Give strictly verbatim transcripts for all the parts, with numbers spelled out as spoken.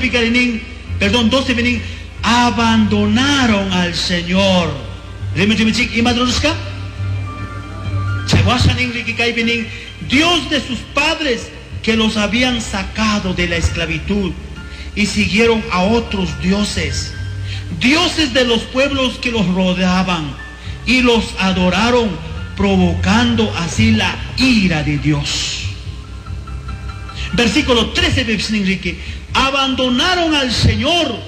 picarinin, perdón, doce pinin, abandonaron al Señor. Rimichimichik, ima rurashka? Chay riki Dios de sus padres que los habían sacado de la esclavitud y siguieron a otros dioses, dioses de los pueblos que los rodeaban y los adoraron, provocando así la ira de Dios. Versículo trece de abandonaron al Señor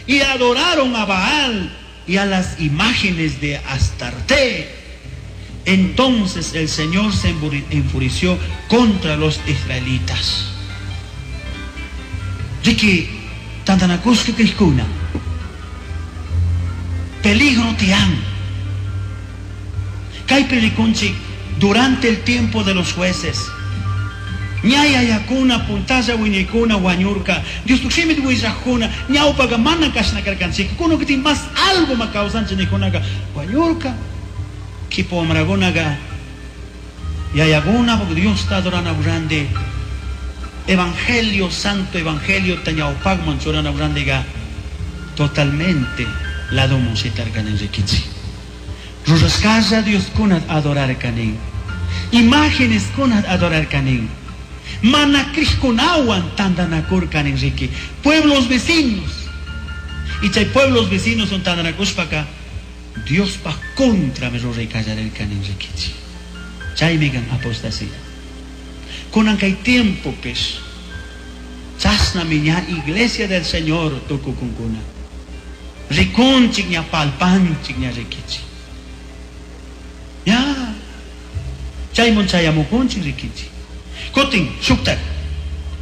y adoraron a Baal y a las imágenes de Astarte. Entonces el Señor se enfureció contra los israelitas. Riki, tantanakushka krishkuna. Peligro tiyan. Kaypi rikunchik durante el tiempo de los jueces. Ña yayakuna puntalla wiñaykuna wañurka. Dios shimita willajkuna ñawpaga mana kashna karkanchik. Kunan kutin más algo ma kawsanchik nikunaga wañurka. Kipa wamrakunaga yayakuna Dios ta adorana grande. Evangelio santo evangelio ta ñawpakman churana grandiga totalmente ladoman shitarkanin rikichik. Rurashkalla Dios kunat adorarkanin. Imágenes kunat adorarkanin. Mana krishkunawan tantanakurkanin riki. Pueblos vecinos. Y chay pueblos vecinos son tantanakushpaka Dios pa contra me ruraykallarerkanin rikichik. Chaymi kan apostasía. Kunan kay tiempo pes. Chasnami ña iglesia del Señor tukukunkuna. Rikunchik ña palpanchik ña rikichik. Ya. Chaymun chayamukunchik rikichik. Kutin, shuktak.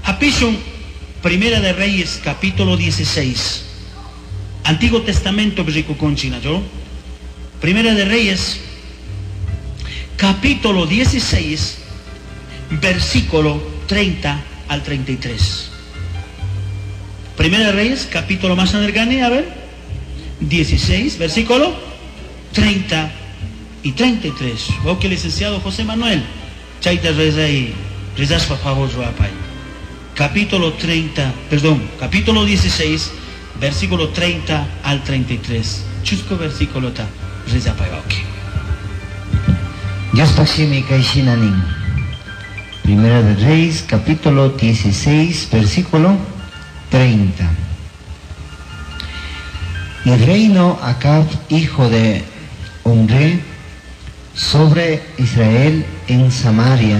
Hapishun, Primera de Reyes, capítulo dieciséis. Antiguo Testamento, rikukunchik, ¿no? Primera de Reyes, capítulo dieciséis, versículo treinta al treinta y tres. Primera de Reyes, capítulo más anergani, a ver, dieciséis, versículo treinta y treinta y tres. Ok, licenciado José Manuel, chayta reza ahí, rezas por favor, rapay. Capítulo treinta, perdón, capítulo dieciséis, versículo treinta al treinta y tres. Chusco versículo ta, reza pay, ok. Dios pashimi kaishinanin. Primera de Reyes, capítulo dieciséis, versículo treinta. Y reinó Acab, hijo de Omri, sobre Israel en Samaria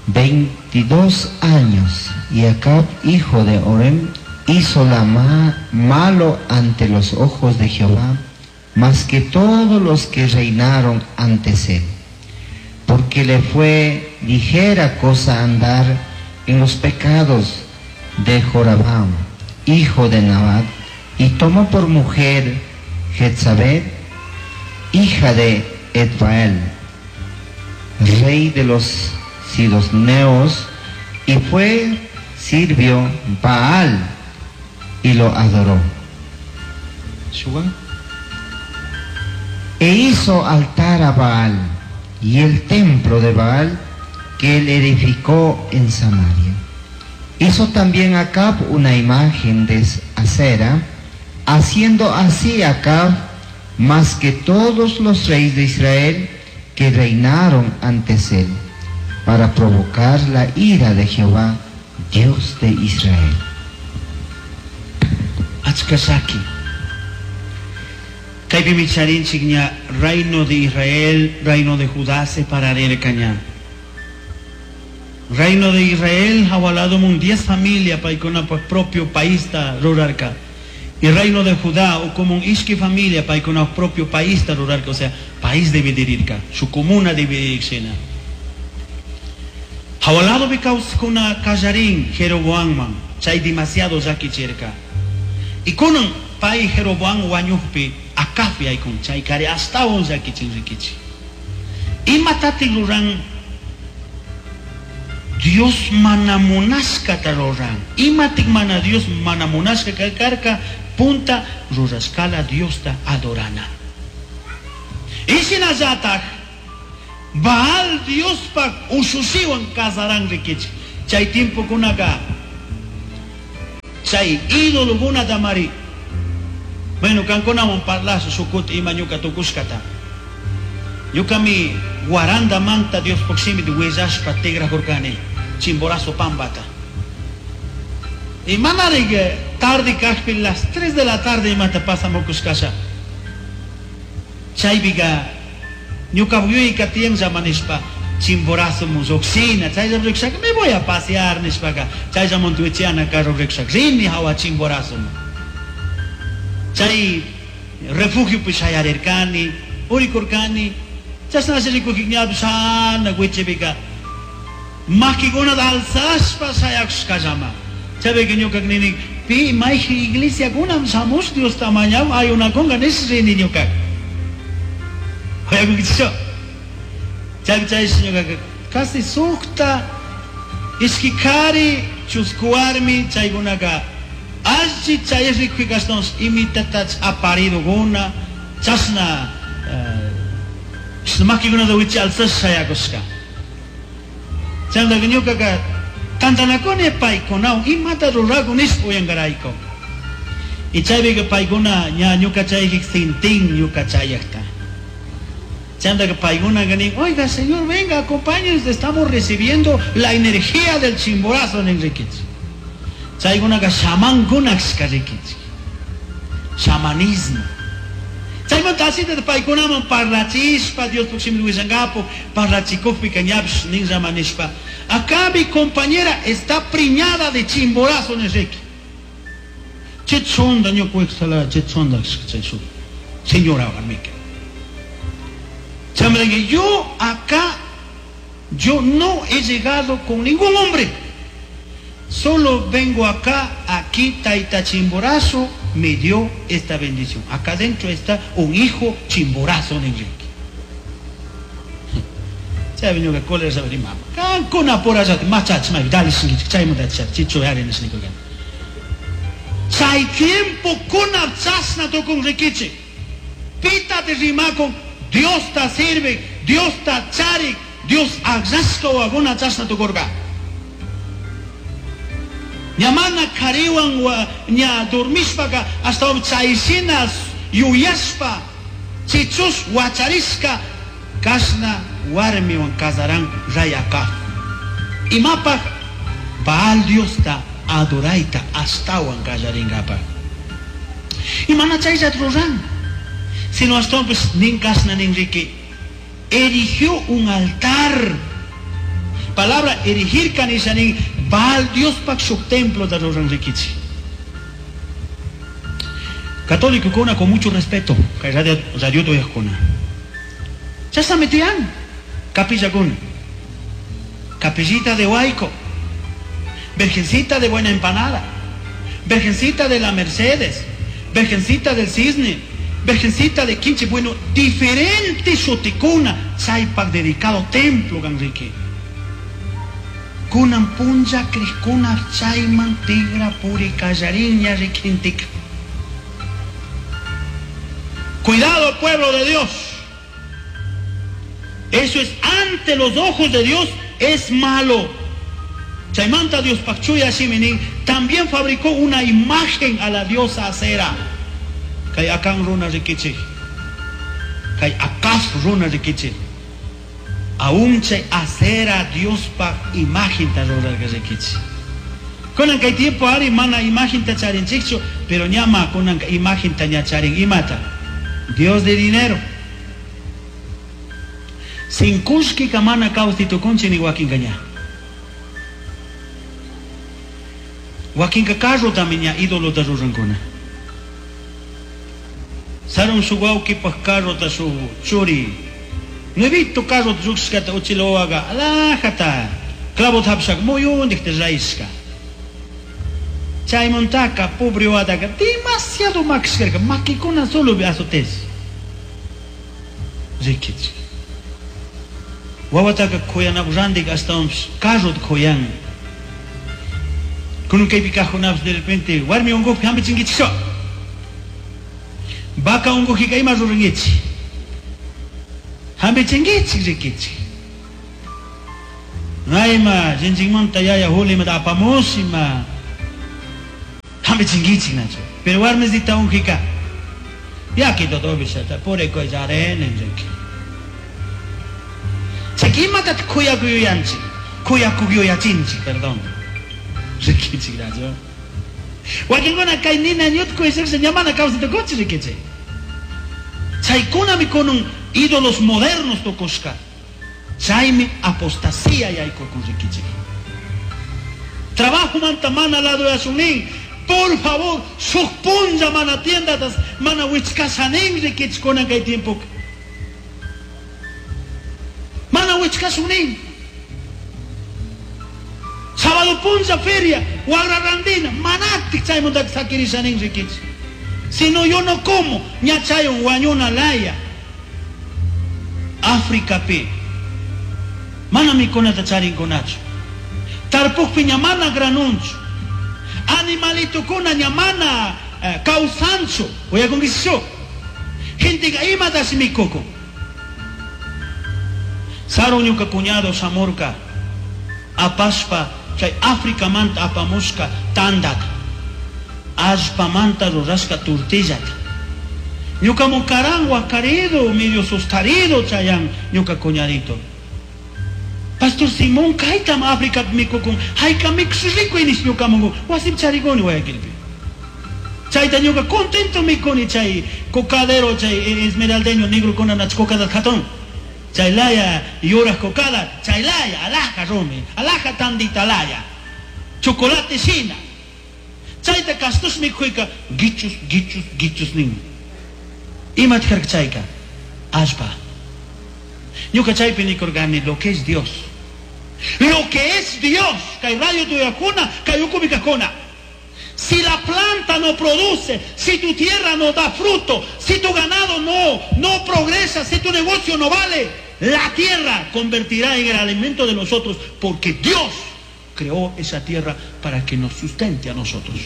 veintidós años. Y Acab, hijo de Orem, hizo la ma- malo ante los ojos de Jehová, más que todos los que reinaron antes él, porque le fue ligera cosa andar en los pecados de Jorobam, hijo de Nabat, y tomó por mujer Jezabel, hija de Etbael, rey de los Sidonios, y fue, sirvió Baal y lo adoró. Shugan. E hizo altar a Baal y el templo de Baal que él edificó en Samaria. Hizo también Acab una imagen de Asera, haciendo así Acab más que todos los reyes de Israel que reinaron antes él, para provocar la ira de Jehová, Dios de Israel. Achkasaki. Kaypimi charinchik ña reino de Israel, reino de Judá separarerka ña. Reino de Israel, hawalado mun diez familia paykuna pues propio país ta rurarka. Y reino de Judá, o como un ishki familia paykuna propio país ta rurarka, o sea, país dividirirka, su comuna dividirshina. Hawalado kuna kallarin Jeroboam man, chay demasiado llakichirka. Y kunan pay Jeroboam wañuqpi Acab yaykun chay kari astawan llakichin rikichi. Imatati ruran Dios mana munashkata ruran. Imatik mana Dios mana munashka karka punta rurashkala Diosta adorana. Ishinallataj Baal Diospaj ushushiwan kasaran rikichi. Chay tiempo kunaka Chay ídolokunatamari. Bueno, kankunawan parlasha shuk ima ñuka tukushkata. Ñukami Guarandamanta Diospaj shimita willashpa tigrakurkani Chimborazo Pambata. Y manarik tarde kajpi las tres de la tarde imata pasamukushkasha. Chaypiqa ñuka yuyayka tiyanllama nishpa Chimborazo lluqshina chaylla rikshaka me voy a pasear nishpaka chayllamunta wichiyana carro rikshaka rini hawa Chimborazo. Chay refugiopi shayarirkani urikurkani chashna rikuji ñapish shana wichipika makikunata alzashpa shayakushkallama. Chaypika ñuka nini pi mayji iglesiakunam shamush Diosta mañawan ayunakunka nish rini ñuka. Uyakunkichikchu? Chaypi chayshi ñukaka casi sukta ishki kari chusku warmi chaykunaka alli chay rikuy ashtawanshi imitatach aparidokuna chashna makikunata wichi alzash shayakushka. Chaymantaka ñukaka tantanakuni paykunawan imata rurakun nishpa uyankarayku. Y chaypika paykuna ña ñuka chayjik sintin ñuka chayakta. Chaymantaka paykunaka nin, oiga señor, venga, acompáñenos, estamos recibiendo la energía del Chimborazo nin rikichik. Chaykunaka shamankunashka rikichik. Shamanismo. Chaymanta asita paykunaman parlachishpa Diospaj shimi willankapu parlachikukpika ñapish ninllama nishpa acá mi compañera está preñada de Chimborazo nin riki. Chichonda ñuka wiksalaya chichonda chay shuk señora warmika. Chaymanta yo acá yo no he llegado con ningún hombre. Solo vengo acá, aquí Taita Chimborazo me dio esta bendición. Acá adentro está un hijo Chimborazo nin riki. Chaypi ñuka cólera sabe mama. Kankuna por allá machach may dale shinkichik chaymanta chicho yari nishnikurkani. Chay tiempo kuna chashna tukun rikichik. Pita te rimakun Dios ta sirve, Dios ta charik, Dios akllashka wawakuna chashna tukurka. Ña mana kariwan wa ña dormishpaka ashtawan chayshina yuyashpa chichush wacharishka kashna warmiwan kasaran rey Acab. Imapaj Baal Diosta adorayta ashtawan kallarinkapak. Y mana chayllata ruran, sino ashtawanpish nin kashna nin riki erigió un altar. Palabra erigir kanisha nin Baal Diospaj shuk templo da ruran rikichik. Católico kuna con mucho respeto, kay radio radio tuyajkuna. Chashnami tiyan capillakuna. Capillita de Huayco, Virgencita de Buena Empanada, Virgencita de la Mercedes, Virgencita del Cisne, Virgencita de Quinche, bueno, diferente shutikuna, chaypak dedicado templo kan riki. Kunan punlla krishkuna chayman tigra puri kallariña rikintika. Cuidado, pueblo de Dios. Eso es ante los ojos de Dios, es malo. Chaymanta Dios Pachuya Shiminin también fabricó una imagen a la diosa Asera. Kay Acán runa rikichik. Kay Acaz runa rikichik. Aún chay Asera Diospa imagen ta rurarka rikichik. Kunan kay tiempo ari mana imagen ta charinchikchu, pero ñama kunan imagen ta ña charin imata. Dios de dinero. Sin kushki kamana kawsi tukunchi ni wakinka ña. Wakinka carro también ña ídolo ta rurankuna. Sarun shuk wawkipaj carro ta shuk churi. Nuevito carro ta lluqshkata uchila wawaqa alajata clavota hapishaka muyundikta rayshka. Chaymantaka pobre wawataka demasiado makishkarka makikuna solo azotes. Rikichik. Wawataka kuyanapak randik ashtawanpish carrota kuyan. Kunan kaypi kajkunapish de repente warmi unkukpi hampichinkichikchu. Vaca unkukpika ima rurankichik. Hampichinkichik rikichik. Nayma, rinchikmanta yaya julimata apamushima. Hamichingichik nacho. Pero warmisita unjika. Yaki todobisha purikuy riki. Chayka imatataq kuyakuyuyanchik? Kuyakuyuyachinchik, perdón. Rikichik nacho. Wakinkuna kay nina ñutku ishaqsha ña mana kawsay tukunchik rikichik. Chaykunami kunun ídolos modernos tukushka. Chaymi apostasía yaykurkun rikichik. Trabajo manta mana lado yashunin. Por favor, shuk punlla mana tiendatas mana wichkashanin rikichik kunan kay tiempoka. Mana wichkashunin. Sábado punlla feria, wagra randina, manatik chaymunta sakirishanin rikichik. Si no, yo no como, ñachayun wañuna laya. África pi. Mana mikunata charinkunachu. Tarpukpi ña mana granunchu. Animalitukuna ña mana eh, kawsanchu. Uyakunkischu. Genteka imatashi mikukun. Sarun ñuka cuñado shamurka. Apashpa chay África manta apamushka tandata. Allpamanta rurashka tortillata. Ñuka mukaran wakarido, medio sostarido chayan ñuka cuñadito. Pastor Simón kaytam África mikukun, hayka mikushu inis ñuka mungu, wasim charigoni Guayaquilpi. Chayta ñuka contento mikuni chay cocadero chay esmeraldeño negro kuna nach cocada jatón. Chay laya yuraj cocada, chay laya alaja rumi, alaja tandita laya. Chocolate shina. Chayta kastus mikuyka gichus gichus gichus nin. Imat karka chayka allpa. Ñuka chaypi nikurgani lo que es Dios. Lo que es Dios, kay rayo tuyakuna, kay ukubikakuna. Si la planta no produce, si tu tierra no da fruto, si tu ganado no, no progresa, si tu negocio no vale, la tierra convertirá en el alimento de nosotros, porque Dios creó esa tierra para que nos sustente a nosotros.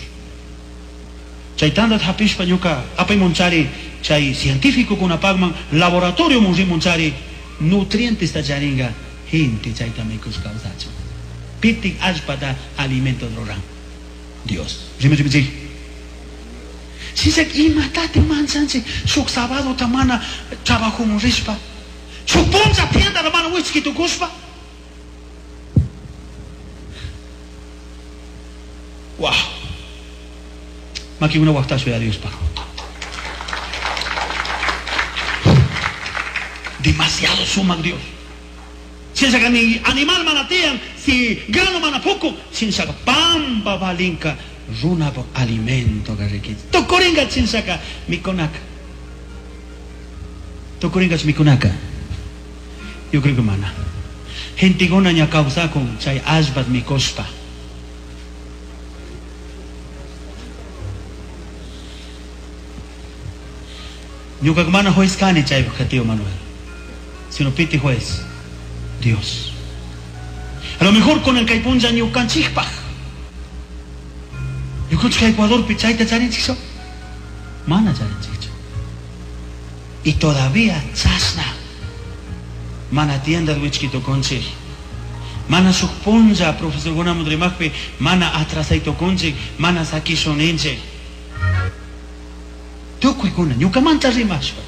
Chaytanda hapishpa ñuka apaymunchari chay científico kunapagman laboratorio munrimunchari nutrientes tacharinga gente chayta mikus kawsachu. Pitik allpata alimento ruran. Dios. Rima rima rima. Sisak imatate manchanchik shuk sábado tamana trabajo munrishpa. Shuk puncha tienda mana wichki tukushpa. Wow. Makikuna waqtashu ya Dios pa. Demasiado sumak Dios. Sinshaka ni animal manatian, si grano manapuku, sinshaka pampa balinka runa alimento garriki. Tukuringa sinshaka mikunaka. Tukuringa mikunaka. Yo creo que mana. Gentiguna ña kawsakun chay allpat mikushpa. Ñuka mana juez kani chay tío Manuel. Sino piti juez. Dios. A lo mejor con el kaypunlla ñukanchikpaj. Ñukanchik Ecuadorpi chayta charinchikchu. Mana charinchikchu. Y todavía chashna. Mana tienda wichki tukunchik. Mana shuk punlla profesorkunamun rimaqpi mana atrasay tukunchik, mana sakishun ninchik. Tukuykuna ñukamanta rimashpa.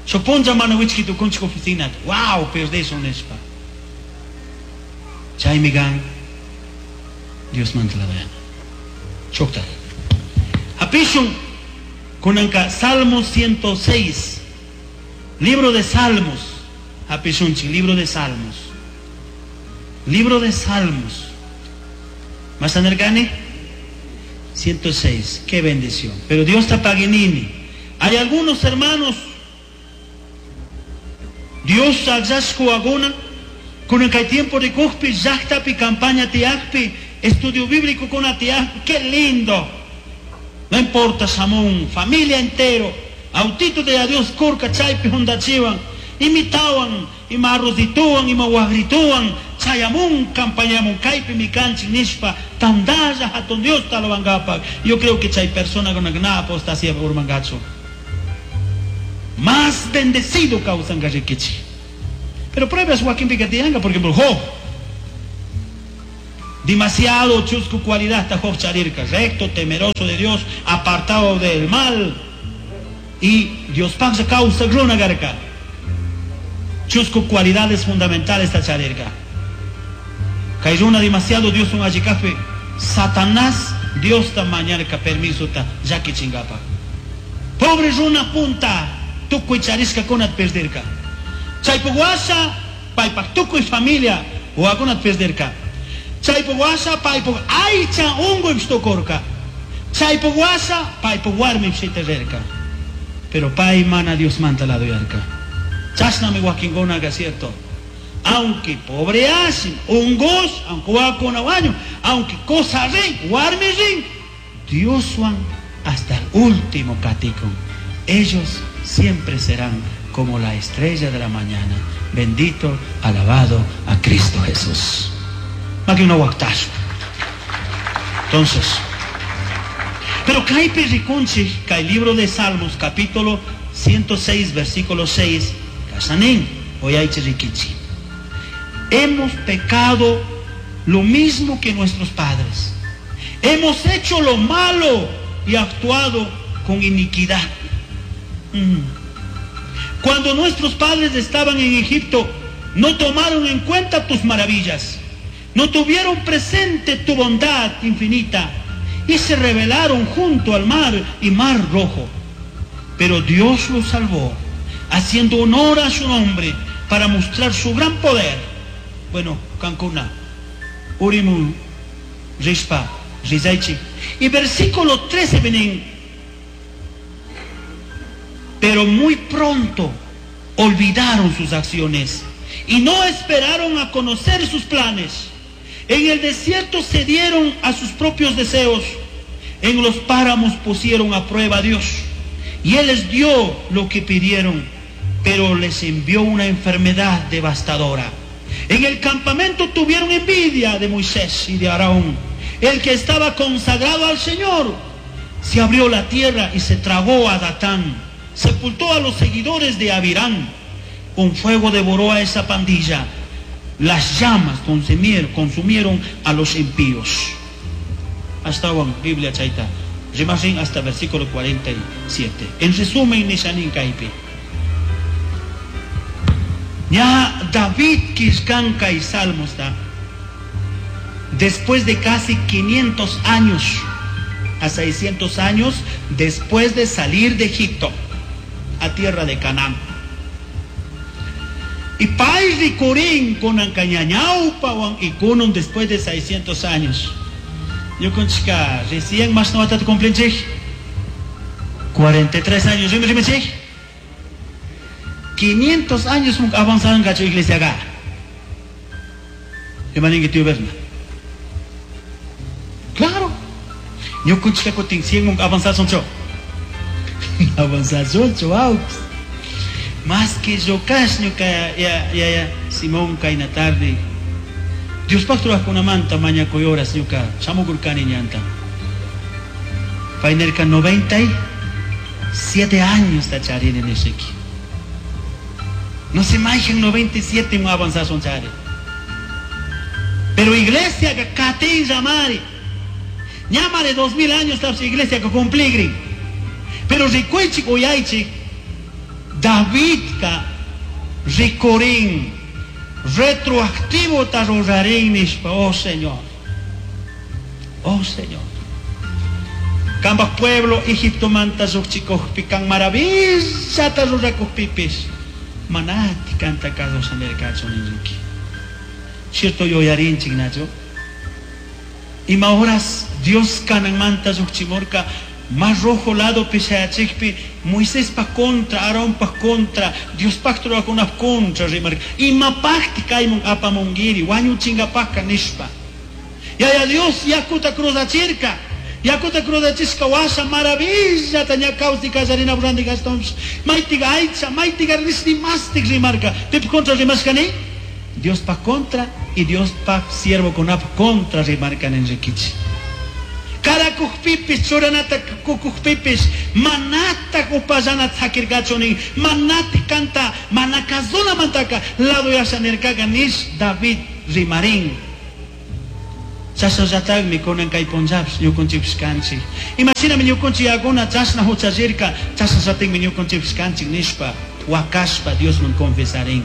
Shuk punlla mana wichki tukunchik oficinata. Wow, perdishun nishpa. Chaymi kan Dios manta ladayana. Shukta. Hapishun kunanka Salmo ciento seis. Libro de Salmos. Hapishunchik, libro de Salmos. Libro de Salmos. ¿Más anergani? ciento seis. Qué bendición. Pero Dios está paguinini. Hay algunos hermanos. Dios agllasku aguna. Con el que hay tiempo de cujpi, llaqtapi, campaña tiaqpi, estudio bíblico con tiaqpi. ¡Qué lindo! No importa, Samón, familia entero. Autito de a Dios kurka chaypi jundachiwan. Imitawan, ima arrozituan, ima wagrituan, chayamun, campañamun, kaypi mikanchik nishpa, tandalla hatun Dios talabangapak. Yo creo que chay persona con la apostasía urmangachu. Más bendecido causan garrikichi. Pero pruebas Joaquín Picatianga, por ejemplo, Job. Demasiado chusku cualidad ta Job charirka, recto, temeroso de Dios, apartado del mal. Y Dios pagsa causa runa garka. Chusku cualidades fundamentales ta charirka. Kay runa demasiado Dios un allikafe, Satanás Dios ta mañarka permiso ta llakichingapa. Pobre runa punta, tukuy charishka kunat perderka. Chaypuk washa, paypak tukuy familia, wakunat perderka. Chaypuk washa, paypuk aycha unquypish tukurka. Chaypuk washa, paypuk warmipish shitarirka. Pero pay mana Dios manta laduyarka. Chashnami wakinkunaqa, cierto. Aunque pobre asin, ungos, aunque wakuna wañu, aunque cosa rin, warmi rin, Dioswan hasta el último katikun. Ellos siempre serán como la estrella de la mañana. Bendito, alabado a Cristo Jesús. Makina waktash. Entonces, pero kaypi rikunchik, kay libro de Salmos, capítulo ciento seis, versículo seis, kashanin, oyaichi rikichi. Hemos pecado lo mismo que nuestros padres. Hemos hecho lo malo y actuado con iniquidad. Mm. Cuando nuestros padres estaban en Egipto, no tomaron en cuenta tus maravillas, no tuvieron presente tu bondad infinita y se rebelaron junto al mar y mar rojo. Pero Dios los salvó, haciendo honor a su nombre para mostrar su gran poder. Bueno, Cancuna, Urimu, Rispa, Rizaichi. Y versículo trece, vienen. Pero muy pronto olvidaron sus acciones y no esperaron a conocer sus planes. En el desierto cedieron a sus propios deseos. En los páramos pusieron a prueba a Dios. Y Él les dio lo que pidieron, pero les envió una enfermedad devastadora. En el campamento tuvieron envidia de Moisés y de Aarón, el que estaba consagrado al Señor. Se abrió la tierra y se tragó a Datán. Sepultó a los seguidores de Abirán. Un fuego devoró a esa pandilla. Las llamas consumieron, consumieron a los impíos. Hasta Juan, Biblia chaita. Rimasin hasta versículo cuarenta y siete. En resumen, Nishanin Kaipi. Ya David Quiscanca y Salmos da. Después de casi quinientos años a seiscientos años después de salir de Egipto a tierra de Canaán. Y país de Corín con Ancañañaupa y Kunun después de seiscientos años. Yo con chica recién más no te cumplen cuarenta y tres años. ¿Sí me dice? quinientos años avanzaron gacho iglesia acá. Y manín que tío Berna. Claro. Yo con chica con cien avanzar son yo. Avanzar son yo. Más que yo casño ya ya ya Simón caina tarde. Dios pacto con una manta maña coyoras ñuka chamugurkani ñanta. Painerka noventa y siete años tacharin en ese. No se imaginan noventa y siete mu avanzar son chari. Pero iglesia que katin llamari. Ñamare dos mil años la iglesia que cumpligri. Pero rikuichik oyaichik David ka rikorin retroactivo tarurarin nishpa, oh Señor, oh Señor. Kamba pueblo Egipto manta zukchikojpi kan maravilla tarurakuspipis manati canta caso sanercacho ninriki. Cierto yo yarin chignacho. Y mahoras Dios kanan manta zukchimorka más rojo lado pisayachikpi Moisés pa contra, Aarón pa contra, Dios pacto con una contra rimarca. Y mapakti kaimun apamungiri, wañu chingapaka nishpa. Ya ya Dios yakuta cruzachirka. Yakuta cruzachishka washa maravilla taña causi kasarina brandi gastoms. Maitiga aicha, maitiga risni mastik rimarca. Pip contra rimascani? Dios pa contra y Dios pa siervo con ap contra rimarca en Enriquichi. Karakujpipis, churanata kukujpipis, manata upallana tzakirkachuni, manati kanta, manakazuna mantaka, lado yashanerkaga nish David rimarín. Chashnallatagmi kunan kay punllapish ñukunchikpish kanchik. Imashinami ñukunchik yayakuna chashna huchallirka, chashnallatikmi ñukunchikpish kanchik nishpa, wakashpa Diosman confesarin.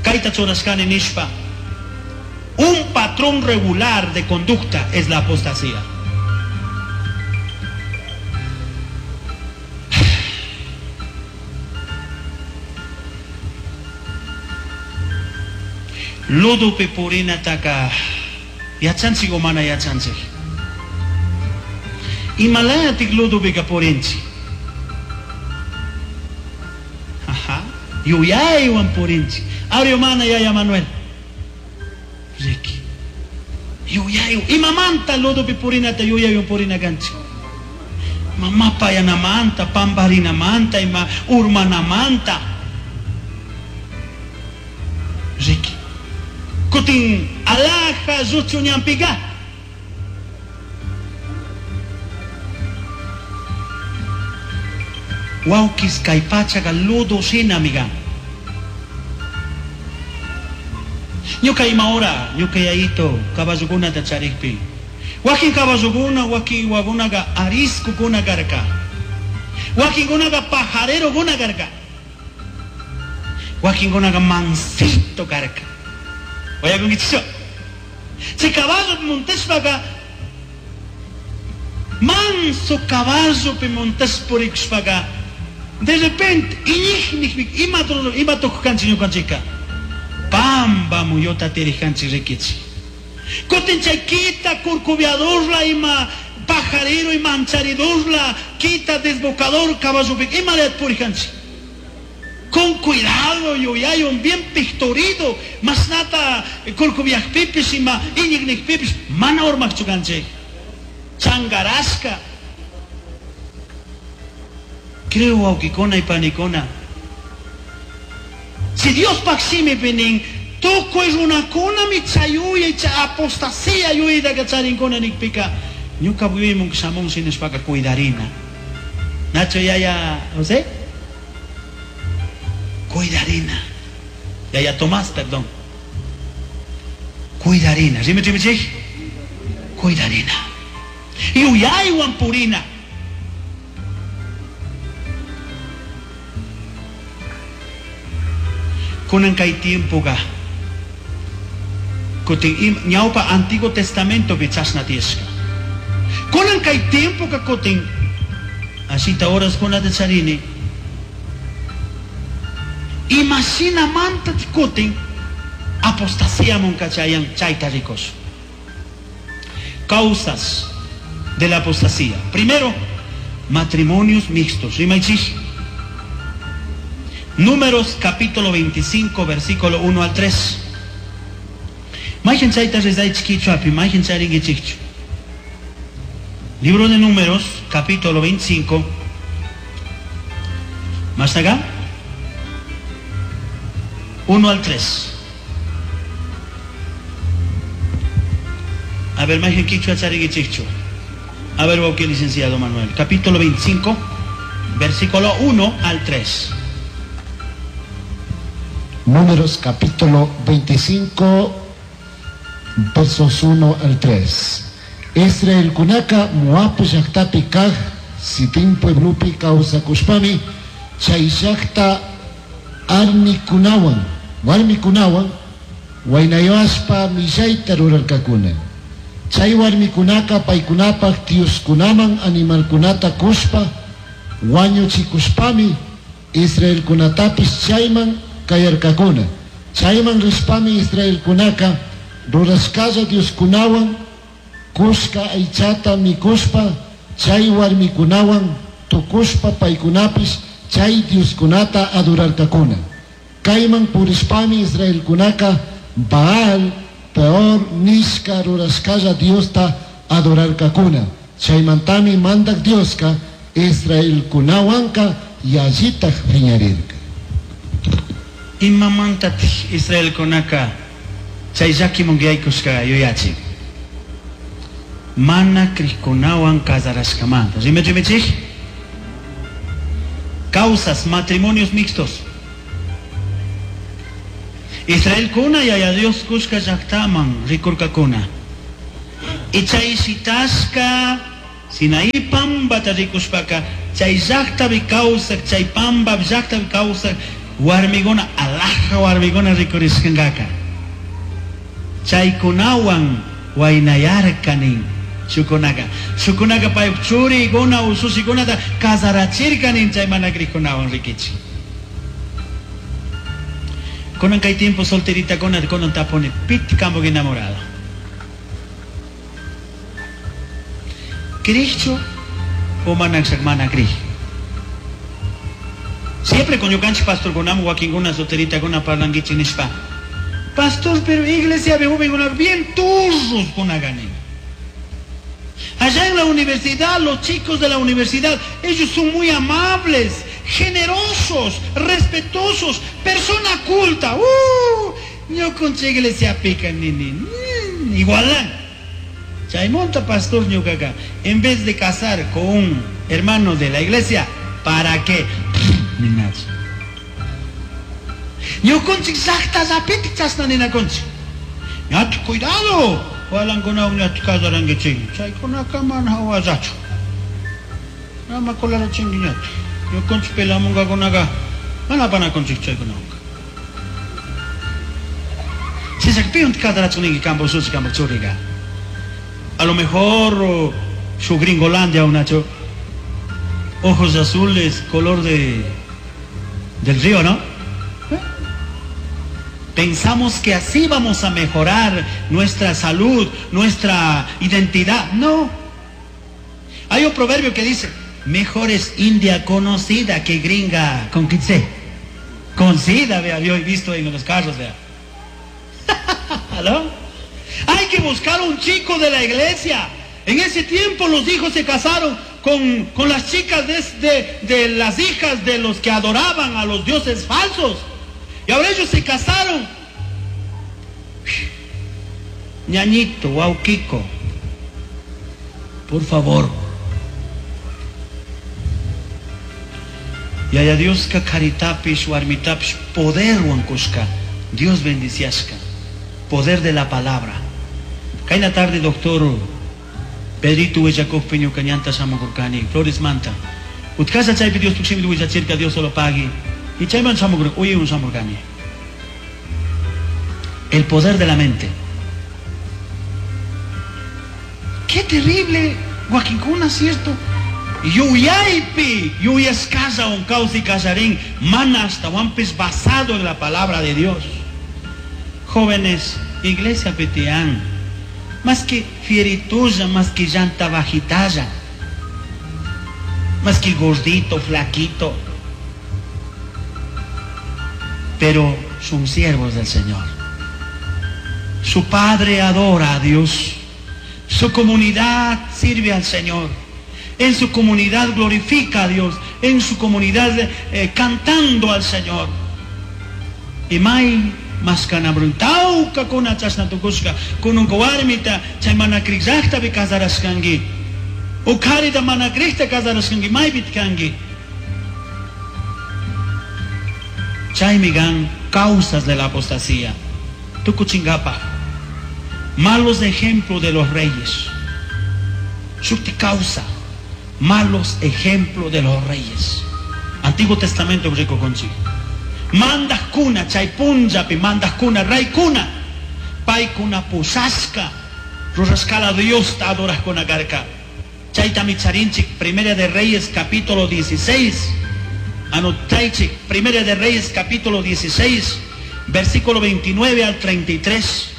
Kayta churashkani nishpa. Un patrón regular de conducta es la apostasía. Ludupi purinataka yachanchik o mana yachanchik. Imalayatik ludupika purinchik. Ajá. Yuyaywan purinchik. Ario mana yaya Manuel. Riki. Yuyaywan. Imamanta ludupi purinata yuyaywan purina kanchik. Mama payanamanta, pamparinamanta, ima urmanamanta. Riki. Kutin alaja lluchuñampiga. Wawkis kay pachaqa ludo shina amiga. Ñuka ima hora, ñuka yayito, caballokunata charikpi. Wakin caballokuna, wakin wakunaqa ariskukuna karka. Wakinkunaqa pajarerokuna karka. Wakinkunaqa mansito karka. Oyakunkichikchu. Chay caballo montashpaqa manso caballopi montash purikushpaqa de repente iñiqniqpi ima ima tukukanchik ñukanchikqa pampa muyuta tirijanchik rikichik. Kutin chay kita curcubiadorla ima pajarero y mancharidorla kita desbocador caballopi ima le purijanchik. Con cuidado, yuyaywan bien pictorido, masnata curcubiaqpipis ima iñiqniqpipis mana urmaqchu kanchik. Changarasca. Creo wawqikuna y panikuna. Si Dios simipi nin, tukuy runakunami chay yuyay, chay apostasía yuyaytaqa charinkuna nikpika, ñuka yuyaymun shamun shinashpaka cuidarina. Nacho yaya José? Cuidarina. Yaya Tomás, perdón. Cuidarina. Rime, rime, chik. Cuidarina. Yuyaywan purina. Kunan kay tiempoqa kutin ñawpa Antiguo Testamento chashna tiyashka. Kunan kay tiempoqa kutin ashita horas kunata charini. Imashinamanta kutin apostasía munkachayan chayta rikush. Causas de la apostasía. Primero, matrimonios mixtos. Rimaychik. Números capítulo veinticinco, versículo uno al tres. Mayhan chayta rezaychik kichwapi, mayhan charinkichikchu. Libro de Números, capítulo veinticinco. ¿Más acá? uno al tres. A ver, mayhan kichwa charinkichikchu. A ver, ok, licenciado Manuel. Capítulo veinticinco, versículo uno al tres. Números capítulo veinticinco, versos uno al tres. Israelkunaka Moab llaqtapi kaq Sitim pueblopi kawsakushpami chay llaqta armikunawan, warmikunawan waynayashpa millayta rurarkakuna. Chay warmikunaka paykunapaq tiyuskunaman animalkunata kushpa wañuchikushpami Israelkunatapis chayman kayarkakuna. Chayman rishpami Israelkunaka rurashkalla Dioskunawan kushka aychata mikushpa chay warmikunawan tukushpa paykunapis chay Dioskunata adorarkakuna. Kayman purishpami Israelkunaka Baal, Peor, nishka rurashkalla Diosta adorarkakuna. Chaymantami mandak Dioska Israelkunawanka yallitaj phiñarirka. Imamantatij Israelkunaka chay llakiman yaykushka yuyachin. Mana crijkunawan casarashkamanta. Rime, rime, chik. Causas, matrimonios mixtos. Israelkuna yaya Dios kushka llaqtaman rikurkakuna. Y chay shitashka Sinaí pambata rikushpaka chay llaqtapi kawsaq chay pamba llaqtapi kawsaq warmikuna alhaja warmikuna rikurishkankaka. Chaykunawan waynayarka nin shukunaka. Shukunaka pay churikuna usushikunata casarachirka nin chay mana krikunawan rikichi. Kunan kay tiempo solteritakuna kunan tapuni pit kambo enamorado. Cristo o manakshak mana krij. Siempre con ñukanchik pastor kunam wakinkuna solteritakuna parlankichik nishpa. Pastor, pero iglesia jovenkuna bien turros kunaganin. Allá en la universidad, los chicos de la universidad, ellos son muy amables, generosos, respetuosos, persona culta. Uh, ñukanchik iglesia pica ni ni igual. Chaymonta pastor ñucaca, en vez de casar con un hermano de la iglesia, ¿para qué? Ni nada. Ñukanchik llaqta llapitik chashna ninakunchik. Ñachu cuidado, walankunawan ñachu casarankichik. Chaykunaka mana hawallachu. Ama kolarachinki ñachu. Ñukanchik pelamunkakunaka mana apanakunchik chaykunawanka. Sisaq piwan casarachuniki kampa ususi kampa churika. A lo mejor su Gringolandia, un ojos azules, color de del río, ¿no? ¿Eh? Pensamos que así vamos a mejorar nuestra salud, nuestra identidad. No. Hay un proverbio que dice, mejor es india conocida que gringa con quince. Con sida, vea, yo he visto en los carros, vea. ¿Aló? Hay que buscar un chico de la iglesia. En ese tiempo los hijos se casaron con, con las chicas de, de, de las hijas de los que adoraban a los dioses falsos. Y ahora ellos se casaron. Ñañito, Wauquico, por favor. Y allá Dios kakaritapish, warmitapish, poder wankushka. Dios bendiciashka. Poder de la palabra. Kayna tarde, doctor Pedrito Huellacov Peño Cañanta Samogurkani, Flores Manta. Utkasa chaypi Dios tuximi huellachirka, Dios solo pague. Y chayman samogurkani, oye un samogurkani. El poder de la mente. Qué terrible, Guaquincuna, ¿cierto? Yuyaypi, yuyascasa un causi casarín, mana hasta wampis basado en la palabra de Dios. Jóvenes, iglesia petián, más que fierituya, más que llanta bajitaya, más que gordito, flaquito, pero son siervos del Señor. Su padre adora a Dios, su comunidad sirve al Señor, en su comunidad glorifica a Dios, en su comunidad eh, cantando al Señor. Y mai maskana tauka kuna chashna tukushka kununka warmita chay mana krikllaqtapi casarashkanki uqharita mana krikta casarashkanki maypi kanki. Chaymi kan causas de la apostasía. Tukuchinkapaj malos ejemplos de los reyes. Shukti causa malos ejemplos de los reyes. Antiguo Testamento rikukunchik. Mandas kuna, chay punllapi, mandas kuna, ray kuna, paykuna pusashka, rurashkala Dios ta adoraskuna karka. Chaytami charinchik, Primera de Reyes capítulo dieciséis. Anotaychik, Primera de Reyes capítulo dieciséis, versículo veintinueve al treinta y tres.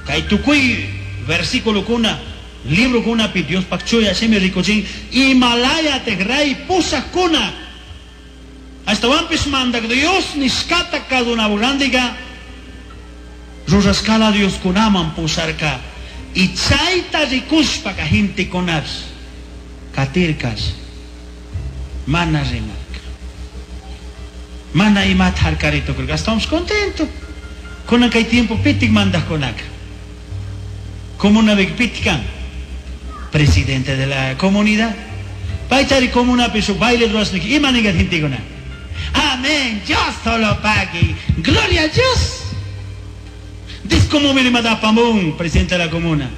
Kay tukuy, versículo kuna, libro kuna pi Dios pakchuya shimi rikuchin, Himalaya te ray pusakuna. Hasta wampis mandak Dios nishkata kadunaburandiga ruraskala Dios kunaman pusarka. Y chayta rikushpaka gente kunaps katirkas mana rimarka mana imat harkarito kurka. Estamos contentos kunan kay tiempo pitik mandak kunaka comuna pitikan presidente de la comunidad paychari comuna pisu baile ruasniki ima ninga gente kuna. Amén, Dios solo pague. Gloria a Dios. Dice como me manda Pamón, presidente de la comuna.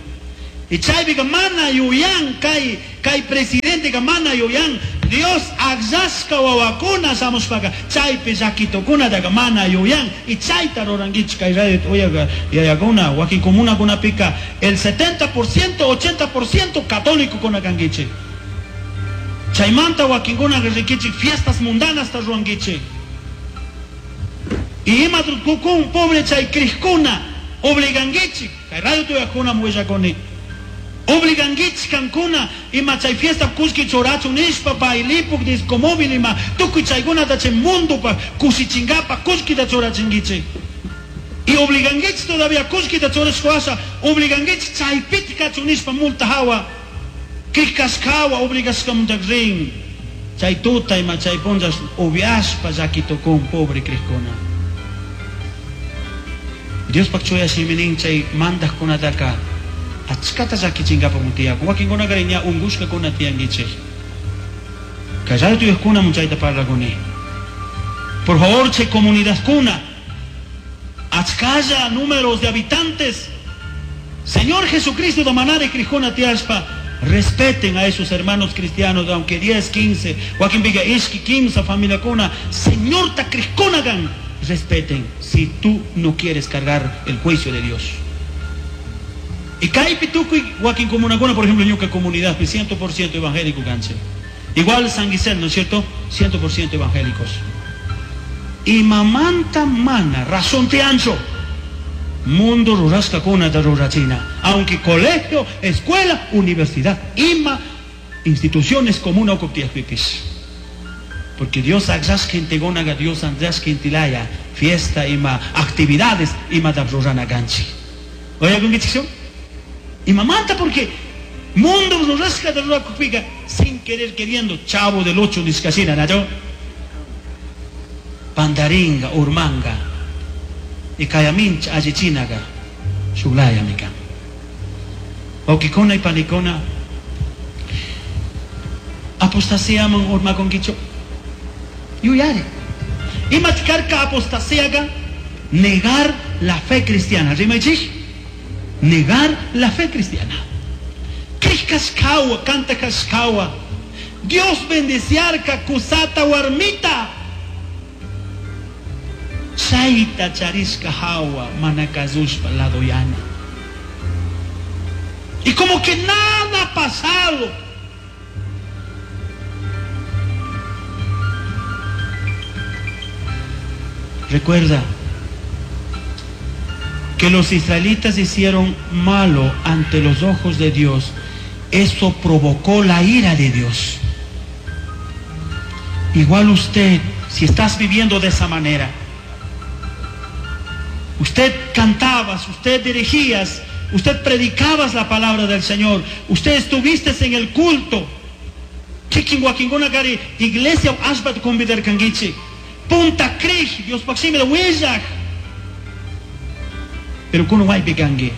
Y chaypiqa mana yuyan kay kay presidenteqa mana yuyan Dios akllasqa wawakuna shamushpaqa chaypi llakitukunataqa mana yuyan y chayta rurankichik kay radio uyaqa yayakuna wakin comunakunapika el setenta por ciento, ochenta por ciento católicokuna kankichik. Chaymanta wakinkuna rikichik fiestas mundanas ta rurankichik. Y ima kukun pobre chay kriqkuna obligankichik kay radio tuyaqkuna willakuni. Obligankichik kankuna ima chay fiesta kushki churachun nishpa bailipuk disco móvil ima tukuy chaykunata chay mundopaq kushichinkapaq kushkita churachinkichik. Y obligankichik todavía kushkita churashpa obligankichik chaypiti kachun nishpa multa hawa kriqkashkawa obligashkamuntak rin chay tuta ima chay punchas upiashpa llakitukun pobre kriqkuna. Diospaq chuya shiminin chay mandaqkunataka achkata llakichinkapaq tiyakun wakinkunaka ña unqushkakuna tiyankichik. Kay radio tuyaqkuna chayta parlakuni. Por favor, chay comunidadkuna achkalla números de habitantes. Señor Jesucristo da manara kriqkuna tiyashpa respeten a esos hermanos cristianos, aunque diez, quince, wakinpiqa ishki, quince familiakuna, Señor ta kriqkunakan respeten si tú no quieres cargar el juicio de Dios. Y kaypi tukuy wakin comunakuna, por ejemplo, ñuka comunidad, ciento por ciento evangélico kanchik. Igual San Guisel, ¿no es cierto? ciento por ciento evangélicos. Y mamanta mana, razón te ancho. Mundo rurashkakuna ta rurachina. Aunque colegio, escuela, universidad, ima, instituciones comuna ukuptiakpipis. Porque Dios akllasqa Dios akllasqa intilaya, fiesta ima, actividades ima ta rurana kanchik. Oye, ¿con qué chico? Y mamanta porque mundo rurashka ta rurakupika sin querer queriendo, chavo del ocho nishkashina, ¿no? Pandaringa, urmanga, y kayamincha allichinaga, shuglaya mika. Okikona y panikona, apostasía man urmakonkicho. Yuyare. Imatkarka apostasíaga, negar la fe cristiana. Rimaichik? Negar la fe cristiana. Krishkashkawa, canta kashkawa. Dios bendeciarka kusata warmita. Chayta charishka hawa manakazushpa ladoyana. Y como que nada ha pasado. Recuerda que los israelitas hicieron malo ante los ojos de Dios. Eso provocó la ira de Dios. Igual usted, si estás viviendo de esa manera, usted cantabas, usted dirigías, usted predicabas la palabra del Señor, usted estuviste en el culto. Iglesia ashbat convidarkangichi. Punta krij, Dios paxime de huellaj. Pero kuno waypi kanki.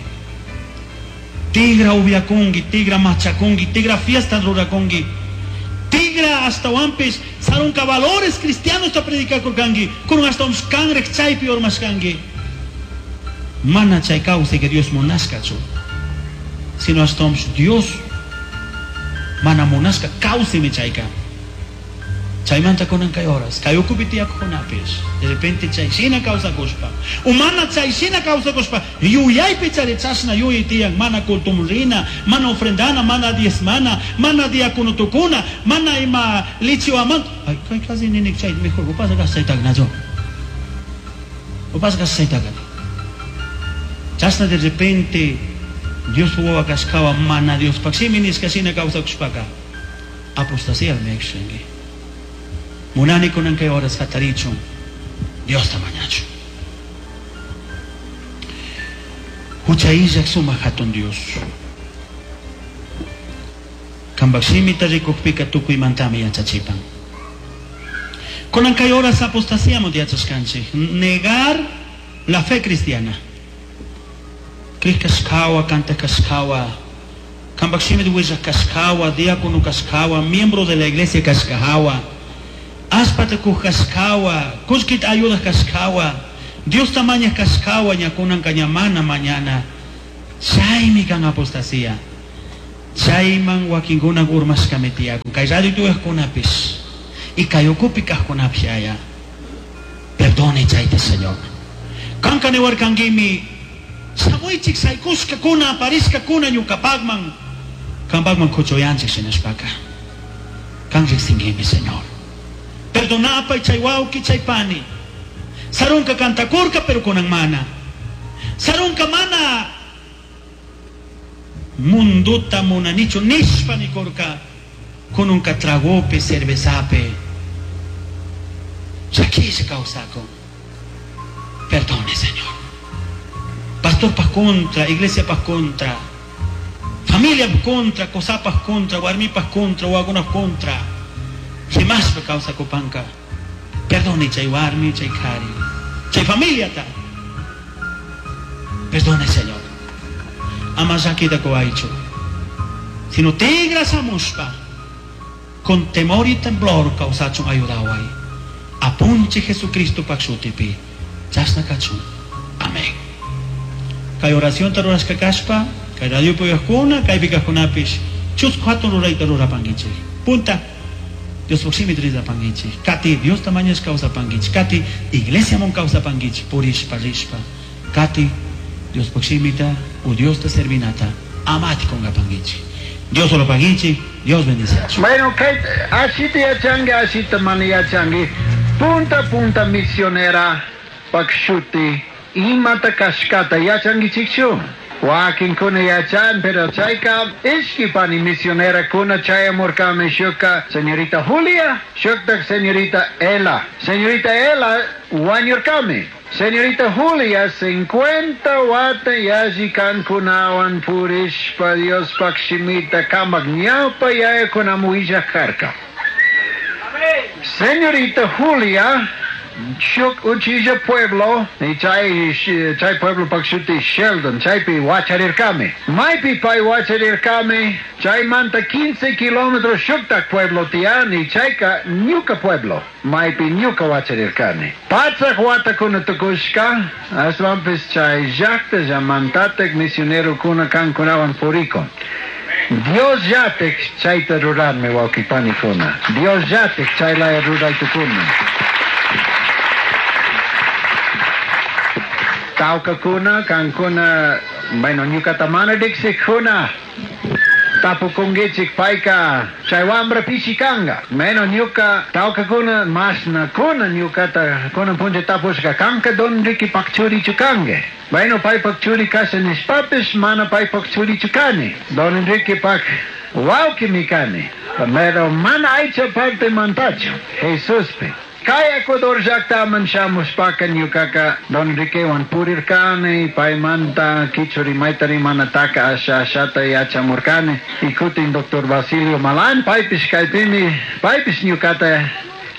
Tigra ubiakungi, tigra machakungi, tigra fiesta rurakungi. Tigra hasta wampis, sarunka valores cristianos ta predicakurkanki. Kuno hasta kanrek chaypi urmashkanki. Mana chay kawsay que Dios munashkachu, sino hasta Dios mana munashka kawsaymi chayka. Chaymanta kunan kay horas, kay ukupi tiyaqkunapis, de repente chayshina kawsakushpa, umana chayshina kawsakushpa, yuyaypi chari chashna yuyay tiyan, mana kultum rina, mana ofrendana, mana diezmana, mana diakonotukuna, mana ima lichiwaman. Ay, kay kasi ninik chay, mejor upasa kas chaytaqa nacho. Upasa kas chaytaqa. Chashna de repente Dios wawa kashkawa mana Dios paksimi nishkashina kawsakushpaka apostasía mexengi. Munani kunan kay horas hatarichun Dios ta mañachu. Hucha illak suma hatun Dios. Kambakshimita rikukpika tukuymantami yachachipan. Kunan kay horas apostasía yachashkanchik. Negar la fe cristiana. Krishkashkawa, kantakashkawa, kambakshimit willakashkawa, diácono kashkawa, miembro de la iglesia kashkawa, aspata kujkashkawa, kushkit ayuda kashkawa, Dios tamaña kashkawa, ñakunan kañamana mañana. Chaymi kan apostasía. Chayman wakinkuna urmashkami tiyakun. Kay radio tuyaqkunapis y kay ukupi kaqkunapis yaya. Perdone chayta, Señor. Kanka niwarkankimi shamuychik saykushkakuna aparishkakuna ñuqapaqman kampaqman kuchuyanchik shinashpaka. Kan riqsinkimi, Señor. Perdonapay chay wawqi chay pani. Sarunka kantakurka pero kunan mana. Sarunka mana munduta munanichu nishpa nikurka kununka tragopi cervezapi llakisha kawsakun. Perdone, Señor. Pastor pa contra, iglesia pa contra, familia pa contra, cosa pa contra, warmi pa contra, wawakuna contra. Rimashpa kawsakupanka. Perdone chay warmi, chay qhari, chay familiata. Perdone, Señor. Ama llakita quwaychu. Sino tigrasamushpa con temor y temblor kawsachun ayudaway. Apunchij Jesucristo pak shutipi. Chashna kachun. Amén. Kay oración rurashka kashpa, kay radio uyajkuna, kaypi kajkunapish, chusku hatun rurayta rurapankichik. Punta. Dios shimita rimapankichik. Kati Diosta mañashpa kawsapankichik. Kati iglesiaman kawsapankichik. Purishpa rishpa. Kati Dios shimita u Diosta servinata amati qunqapankichik. Dios solo paguichik, Dios bendice. Bueno, kay ashita yachanki, ashita mana yachanki. Punta punta misionera pak shuti imata kashkata yachankichikchu. Wakinkuna yachan, pero chayka ishki pani misionera kuna chayamurkami shuka señorita Julia, shuktak señorita Ela. Señorita Ela wañurkami. Señorita Julia, cincuenta wata yalli kankunawan purishpa Diospak shimita kamak ñawpa yayakunaman willak karka. Señorita Julia, shuk uchilla pueblo, y chay, chay pueblo pak shuti Sheldon, chaypi wacharirkami. Maypi pay wacharirkami, chaymanta quince kilómetros shuktak pueblo tiyan, y chayka ñuka pueblo, maypi ñuka wacharirkani. Patsak watakuna tukushka, ashwanpish chay llakta llamantatak misionerokuna kankunawan purikun. Dios llatik chayta rurarmi wawqipanikuna. Dios llatik chaylaya ruraytukuna. Tawkakuna, kankuna, bueno, ñukata mana riqsikkuna. Tapukunkichik payka chay wambra pishi kanka. Bueno, ñuka tawkakuna mashnakuna ñukata kunan puncha tapushka kanka don Enrique pak churichu kanki. Bueno, paypak churi kasha nishpapish mana paypak churichu kani. Don Enrique pak wawqimi kani. Pero mana aycha parte mantachu. Jesuspi. Kay Ecuador llaktaman shamushpaka ñukaka Don Enriquewan purirkani, paymanta kichwa rimayta rimanataka asha ashata yachamurkani. Y kutin doctor Basilio Malan, paypish kaypimi, paypish ñukata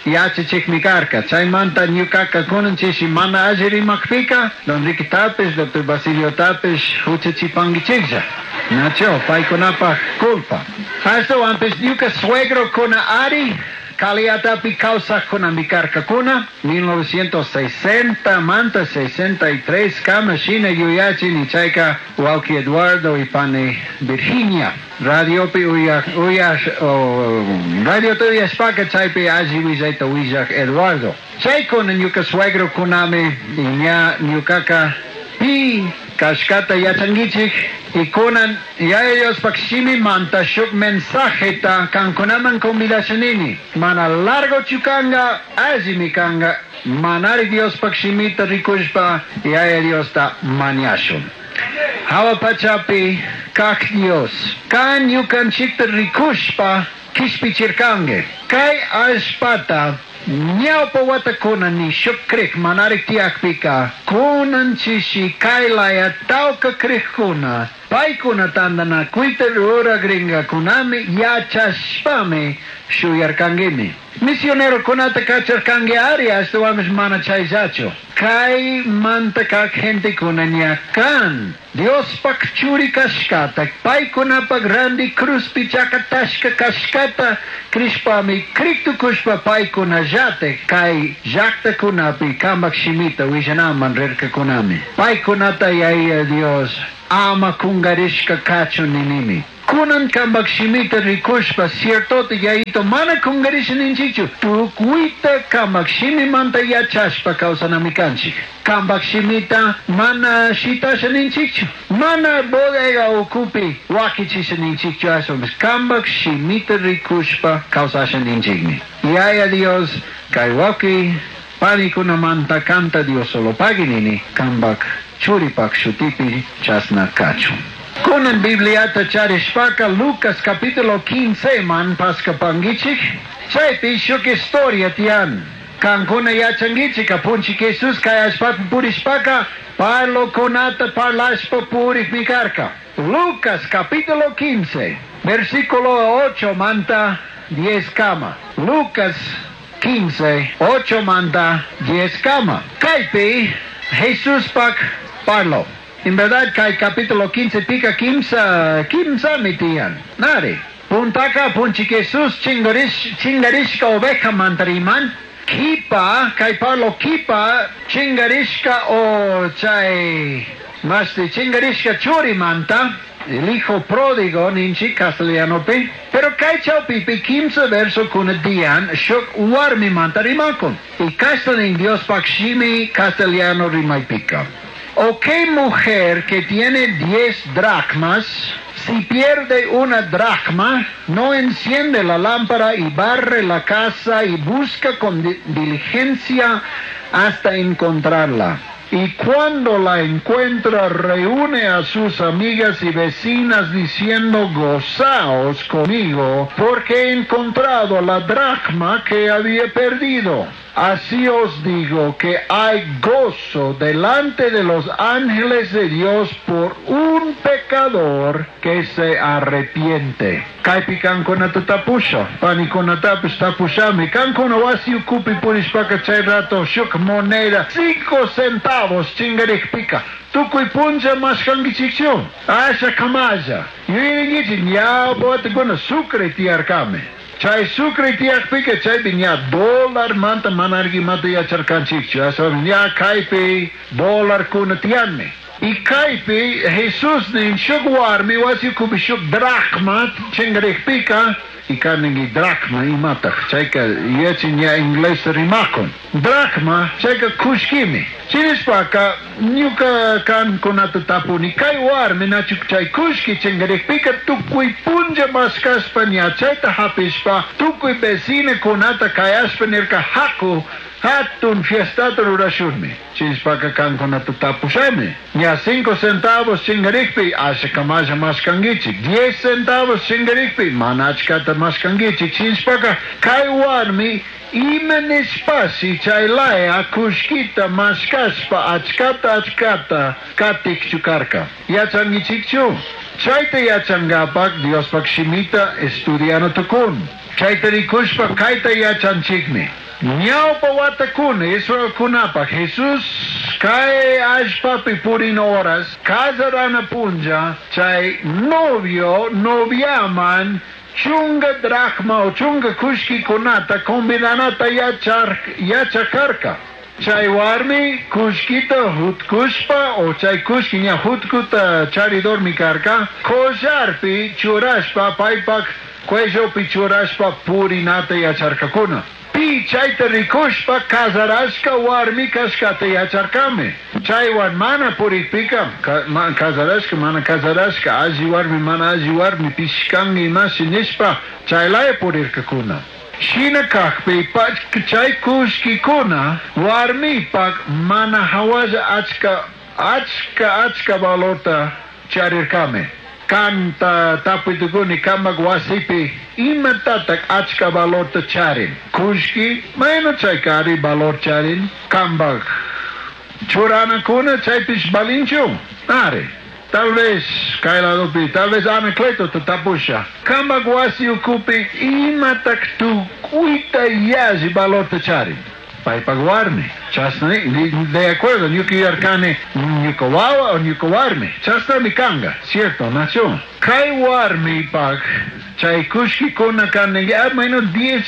yachachikmi karka. Chaymanta ñukaka kunan chishi mana alli rimakpika, Don Enrique tapish, doctor Basilio tapish, huchachipankichiklla. Nacho, paykunapaj culpa. Ashtawanpish ñuka suegro kuna ari, Caliatapi kawsaqkunami karkakuna, mil novecientos sesenta manta sesenta y tres kama shina yuyachini chayka wawqi Eduardo y pani Virginia. Radiopi uyaj, uyaj, oh, radio tuyashpaka chaypi alli willayta willaj Eduardo. Chaykuna ñuka suegro kunami y ña ñukaka pi kashkata yachankichik. Y kunan Yaya Diospak shimimanta shuk mensajeta kankunaman convidashanini. Mana largo chukanga, allimi kanga, manari Diospak shimita rikushpa, Yaya Diosta mañashun. Hawa pachapi kak Dios, kan ñukanchikta rikushpa kishpichirkange. Kay allpata ñawpa watakuna ni shuk krik manarik tiyakpika, kunan chishi kaylaya tawka krikkuna, paykuna tantanakuyta ruragringakunami yachashpami shuyarkankimi. Misionerokunata kacharkanki ari ashtawanpish mana chayllachu. Kay manta kak gentekuna ña kan Diospak churi kashkata, paykunapak randi cruzpi chakatashka kashkata krishpami kriktukushpa paykunallatik kay llaktakunapi kamak shimita willanaman rirkakunami. Paykunata Yaya Dios ama kungarishka kachun ninimi. Kunan kambak shimita rikushpa ciertota yayito mana kungarisha ninchikchu. Tukuyta kambak shimimanta yachashpa kawsanami kanchik. Kambak shimita mana shitasha ninchikchu. Mana bodega ukupi wakichisha ninchikchu ashwanpish kambak shimita rikushpa kawsasha ninchikmi. Yaya Dios kay wawki panikunamanta kanta Dios solo pagui nini kambak churipak shutipi chasna kachun. Kunan Bibliata charishpaka Lucas capítulo quince man paskapangichik. Chaypi shuk historia tiyan. Kankuna yachangichik apunchik Jesus kay allpapi purishpaka parlokunata parlashpa purikmi karka. Lucas capítulo quince, versículo ocho manta diez kama. Lucas quince, ocho manta diez kama. Kaypi Jesus pak parlo. En verdad, kay capítulo quince pica quimsa, quimsa mitian. Nari. Puntaka punchi Jesus chingarish, chingarishka oveja mantariman. Kipa, kay parlo kipa, chingarishka o chay, masti chingarishka churi manta. El hijo pródigo, ninchi castellano pe. Pero kay chaupipi quimsa verso kunadian, shuk warmi mantarimakon. Y castellan Dios pakshimi castellano rimaipika. ¿O qué mujer que tiene diez dracmas, si pierde una dracma, no enciende la lámpara y barre la casa y busca con diligencia hasta encontrarla? Y cuando la encuentra, reúne a sus amigas y vecinas diciendo, gozaos conmigo, porque he encontrado la dracma que había perdido. Así os digo que hay gozo delante de los ángeles de Dios por un pecador que se arrepiente. Kaypi kankunata tapusha, panikunatapish tapushami, kankuna wasi ukupi purishpaka chay rato shuk moneda cinco centavos chingarikpika. Tukuy punlla mashkankichikchu, asha kamalla. Yuyarinkichik ña watakuna sucre tiyarkami. Chay sucre tiyakpika chaypi ña dólar manta manarki manta yacharkanchikchu. Aswan ña kaypi dólar kuna tiyanmi. Y kaypi Jesus nin shuk warmi wasi ukupi shuk dracma chingarikpika. Y kaningi dracma imataj chayka yachi ña inglés rimakun. Dracma chayka kushkimi. Chinishpaka ñuka kankunata tapuni kay warmi nachu chay kushki chingarikpika tukuy punlla mashkashpa ña chayta hapishpa tukuy vecinakunata kayashpa nirka haku hatun fiestata rurashunmi. Chinishpaka kankunata tapushami. Ña cinco centavos chingarikpi asha kamasha mashkangichik. Diez centavos chingarikpi mana achkata mashkangichik. Chinishpaka kay warmi ima nishpashi chaylaya kushkita mashkashpa achkata achkata katikchu karka. Yachangichikchu. Chayta yachangapak Diospak shimita estudiana tukun. Chayta rikushpa kayta yachanchikmi. Ñawpa watakuna Israelkunapaq Jesus kay allpapi purin horas kasarana punlla chay novio noviaman chunga dracma o chunga kushkikunata convidanata yachar yachakarka. Chay warmi kushkita hutkushpa o chay kushki ña hutkuta charidormi karka collarpi churashpa paypak cuellopi churashpa purinata yacharkakuna. Pi chayta rikushpa kasarashka warmi kashkata yacharkami. Chaywan mana purikpika kasarashka mana kasarashka alli warmi mana alli warmi pishkangi imashi nishpa chaylaya purirkakuna. Shina kakpi chay kushkikuna warmipak mana hawalla achka achka achka valorta charirkami. Kanta tapuitukuni kamak wasipi imatatak achka valorta charin. Kushki, bueno chaykari valor charin. Kambak churanakuna chaypish balinchu. Nare. Tal vez kayladopi, tal vez Anacleto te tapusha. Kambak wasi ukupi imatak tukuyta yalli valorta charin. Paypak warmi. Chasna, de acuerdo, ñuka yuyarkani ñuka wawa o ñuka warmi. Chasnami kanga, cierto, nació. Kay warmipak chay kushkikuna kaningi, al menos diez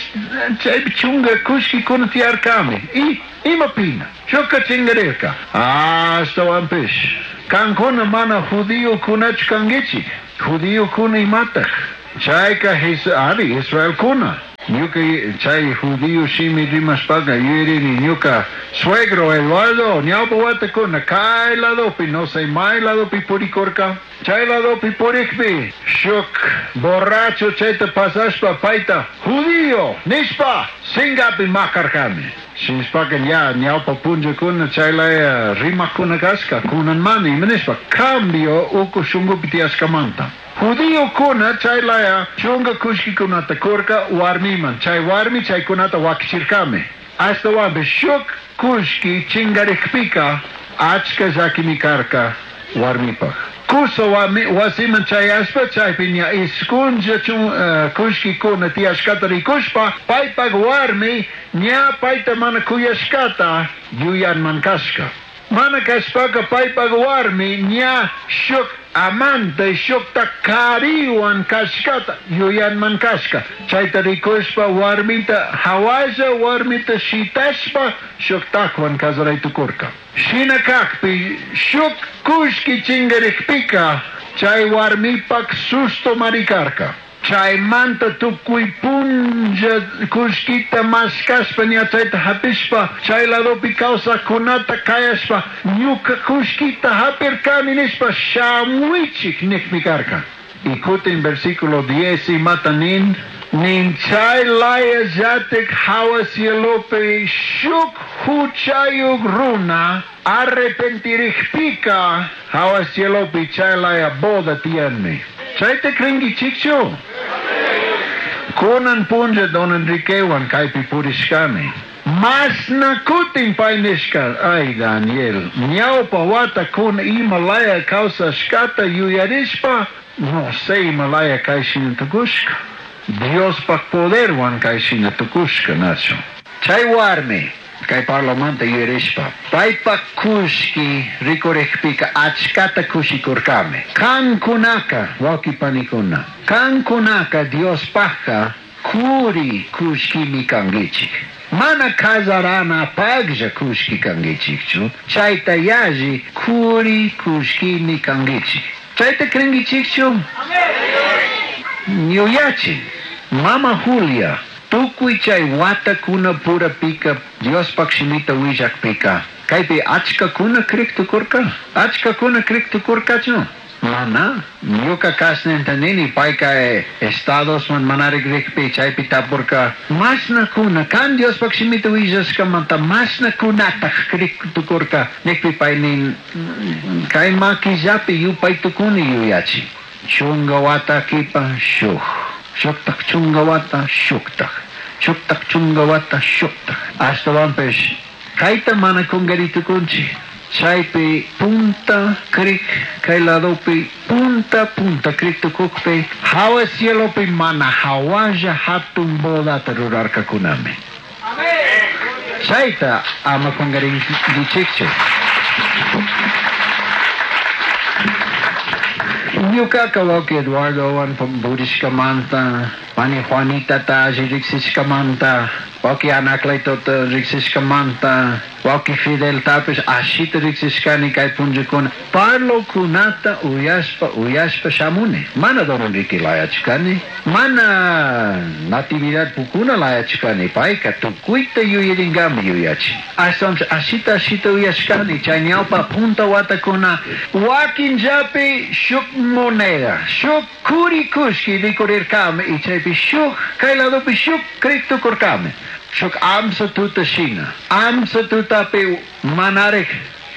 chay chunga kushkikuna tiyarkami. Y imapina, shuka chingarirka. Ashtawanpish. Kankuna mana judío kunachu kankichik. Judíokuna imataj. Chayka ari Israelkuna. Ñuka chay judío shimi rimashpaqa yuyarini ñuka suegro Eduardo ñawpa watakuna kay ladopi no sé may ladopi purikurka. Chay ladopi purikpi shuk borracho chayta pasashpa payta judío nishpa singapi makarkami. Shinashpaka ña ñawpa punllakuna chaylaya rimakuna kashka kunanmana ima nishpa cambio uku shunkupi tiyashkamanta. Judíokuna chaylaya chunka kullkikunata kurka warmiman, chay warmi chaykunata wakichirkami. Ashtawanpish shuk kullki chinkarikpika achka llakimi karka warmipaj. Kusa wasiman chayashpa chaypi ña iskunlla kullkikuna tiyashkata rikushpa paypak warmi ña payta mana kuyashkata yuyanman kashka. Mana kashpaka paypak warmi ña shuk amante shukta kariwan kashkata yuyanman kashka. Chayta rikushpa warmita hawalla warmita shitashpa shuktakwan kasaraytukurka. Shina kakpi shuk kullki chinkarikpika chay warmipak susto marikarka. Chaymanta tukuy punlla kullkita mashkashpa ña chayta hapishpa chay ladopi kawsaqkunata kayashpa ñuka kullkita hapirkani nishpa shamuichik nikmi karka. Y kutin versículo diez imata nin nin chay laya llatik hawa cielopi shuk huchayuk runa arrepentirikpika hawa cielopi chay laya boda tiyanmi. Chayta krinkichikchu? Kunan punlla don Enriquewan kaypi purishkani. Masna kutin pay nishka, ay Daniel, ñawpa wata kun ima laya kawsashkata yuyarishpa, no sé ima laya kayshina tukushka. Diospak poderwan kayshina tukushka, nacho. Chay warmi, kay parlomanta yuyarishpa, paypak kullki rikurikpika achkata kushikurkami. Kankunaka, wawqi panikuna, kankunaka Diospakka kuri kullkimi kankichik. Mana kasaranapaklla kullki kankichikchu, chayta yalli kuri kullkimi kankichik. Chayta krinkichikchu? Yuyachin, mama Julia, tukuy chay watakuna purapika Diospak shimita willakpika kaypi achkakuna krik tukurka, achkakuna krik tukurkachu. Mana, ñuka kashna nini payka estadosman manarik rikpi chaypi tapurka mashnakuna kan Diospak shimita willashkamanta mashnakunataj krik tukurka nikpi pay nin kay makillapi yupay tukuni yuyachi. Chunka wata kipa shuk, shuktak chunka wata shuktak, shuktak chunka wata shuktak. Ashtawanpish kayta mana kunkaritukunchik. Chaypi punta krik kay ladopi punta punta krik tukukpi hawa cielopi mana hawalla hatun bodata rurarkakunami. Chayta ama kunkarinkichikchu. Ñukaka wawqi Eduardowan purishkamanta, pani Juanitata alli riksishkamanta, wawqi Anacletota riksishkamanta, wawqi Fideltapish ashita riksishkani kay punllakuna. Parlokunata uyashpa uyashpa shamuni. Mana don Enrique layachkani, mana Natividad pukuna layachkani, payka tukuyta yuyarinkami yuyachi. Ashtawanpish ashita ashita uyashkani chay ñawpa punta watakuna wakinllapi shuk moneda, shuk kuri kullki rikurirkami y chaypi shuk kay ladopi shuk krik tukurkami. Shuk amsa tuta shina, amsa tutapi manarik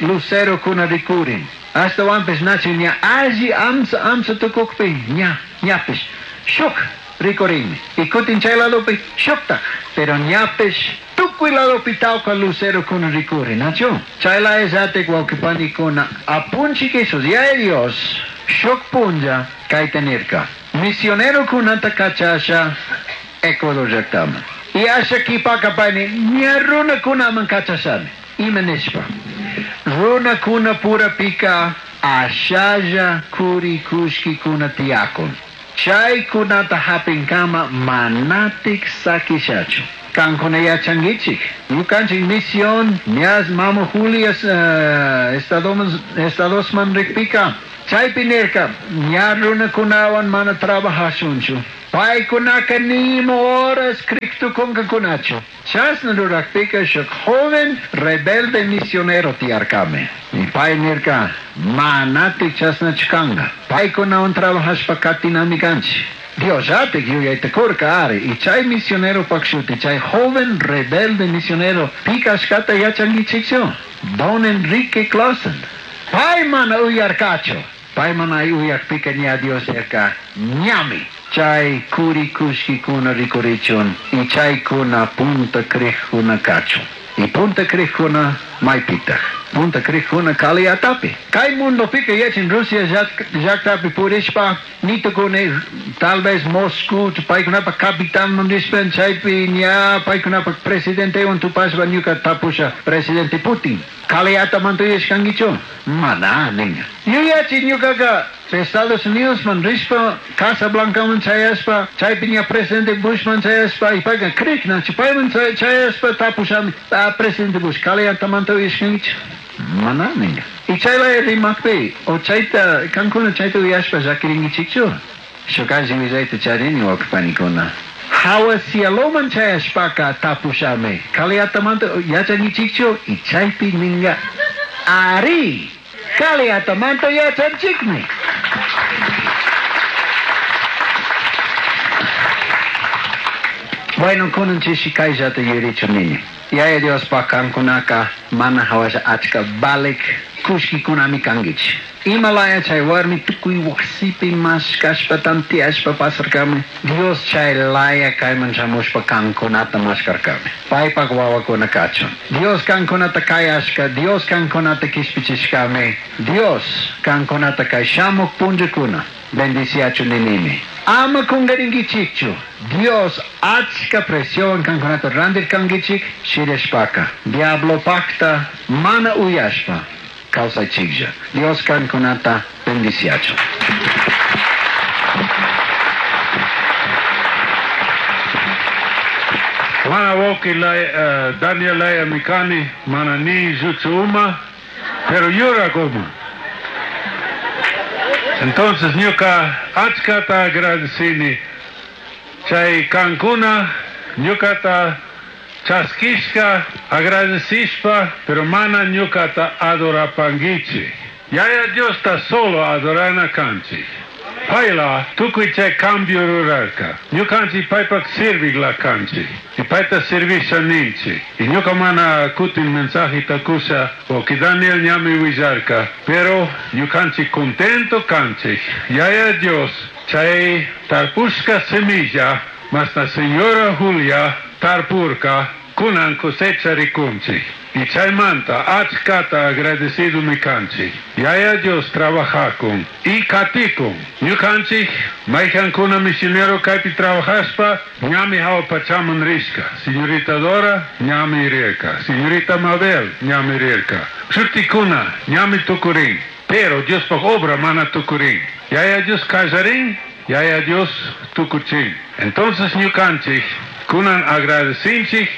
lucero kuna rikurin. Ashtawanpish nachu ña alli amsa amsa tukukpi ña ñapish shuk rikurinmi. Y kutin chay ladopi shuktak, pero ñapish tukuy ladopi tawka lucero kuna rikurin, nachu. Chay layallatik wawqipanikuna apunchik Jesús, Yaya Dios, shuk punlla kayta nirka. Misionero kunata kachasha Ecuador llaktaman. Y asha kipaka payni ña runakunaman kachashani. Ima nishpa. Runakuna purapika ashalla kuri kullkikuna tiyakun. Chaykunata hapinkama manatik sakishachu. Kankuna yachankichik. Ñukanchik misión, ñas mama Julia uh, Estadosman rikpika. Chaypi nirka, ña runakunawan mana trabajashunchu. Paykunaka nima horas kriktukunkakunachu. Chashna rurakpika shuk joven rebelde misionero tiyarkami. Y pay nirka, manatik chashnachu kanka. Paykunawan trabajashpa katinami kanchik. Dios atik yuyayta kurka ari. Y chay misionero pakshuti, chay joven rebelde misionero, pikashkata yachankichikchu. Don Enrique Clausen. Pay mana uyarkachu. Pay mana uyakpika ña Dios nirka, ñami. Chay kuri kushkikuna rikurichun y chaykuna punta krijkuna kachun. Y punta krijkuna maypitaj. Punta krijkuna Kaliatapi. Kay mundopika yachin Rusia llaktapi purishpa nitukuni tal vez Moscú paykunapa capital rishpa chaypi ña paykunapa presidentewan tupashpa ñuka tapusha presidente Putin. Kaliatamanta uyashkankichu? Mana ninga. Yuyachi ñukaka Estados Unidos man rishpa Casa Blanca man chayashpa chaypi ña presidente Bush man chayashpa y payka kriknachu payman chayashpa tapushami a presidente Bush Kaliatamanta uyashkankichu? Mana ninga. Y chaylaya rimakpi o chayta kankuna chayta uyashpa llakirinkichikchu? Shuk alli willayta charini wawqipanikuna. Hawa cieloman chayashpaka tapushami Kaliatamanta yachankichikchu? Y chaypi ninga ari Kaliatamanta yachanchikmi. Bueno, kunan chishi kayllata yuyarichu nini. Yaya Diospa kankunaka mana hawasha achka valik kushkikunami kankichik. Imalaya chay warmi tukuy wasipi mashkashpa tantiashpa pasarkami. Dios chay laya kayman shamushpa kankunata mashkarkami. Paypak wawakuna kachun. Dios kankunata kayashka, Dios kankunata kishpichishkami. Dios kankunata kay shamuk punllakuna bendiciachu ninimi. Ama kungarinkichikchu. Dios achka presión kankunata randirkankichik shirishpaka. Diablo pakta mana uyashpa kawsaychiklla. Dios kankunata bendiciachu. Mana woki uh, Daniel laya mikani mana ni jutsu uma, pero yurak uma. Entonces ñuka achkata agradecini chay kankuna ñukata chaskishka agradecishpa, pero mana ñukata adorapangichi. Yaya Diosta solo adorana kanchik. Payla tukuy chay cambio rurarka. Ñukanchik paypak sirvigla kanchik. Y payta servisha ninchik. Y ñuka mana kutin mensajita kusha wawki Daniel ñami willarka. Pero ñukanchik contento kanchik. Yaya Dios chay tarpushka semilla masna señora Julia tarpurka kunan cosecha rikunchik. Y chaymanta achkata agradecido mi kanchik. Yaya Dios trabaja con y katikun. Ñukanchik mayqankuna misionero kaypi trabajaspa ñami hawa pachaman rishka. Señorita Dora ñami rirka. Señorita Mabel ñami rirka. Shutikuna ñami tukurin. Pero Diospaj obra mana tukurin. Yaya Dios kallarin, Yaya Dios tukuchin. Entonces ñukanchik kunan agradecinchik